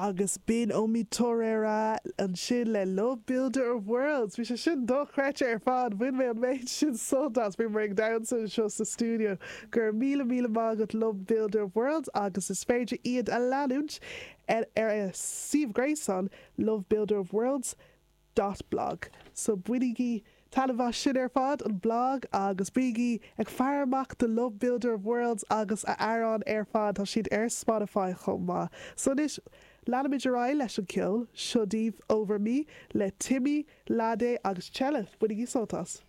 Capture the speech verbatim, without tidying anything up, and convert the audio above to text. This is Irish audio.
Agus b'in Omi Torera ansin le Love Builder of Worlds. Bhí sé sin dochreidte ar fad bhain mé an méid sin sult as bhí mé ag damhsa anseo sa stiúideo go raibh míle míle maith agat Love Builder of Worlds agus is féidir iad a leanúint ar ar a suíomh gréasáin Love Builder of Worlds dot blog. So bainigí taitneamh as sin ar fad an blog agus bígí ag faire amach do Love Builder of Worlds agus a amhráin ar fad tá siad ar Spotify chomh maith. So anois leanfaimid ar aghaidh leis an ceol seo daoibh Over Me le Timmy, Lade agus Chella bainigí sult as.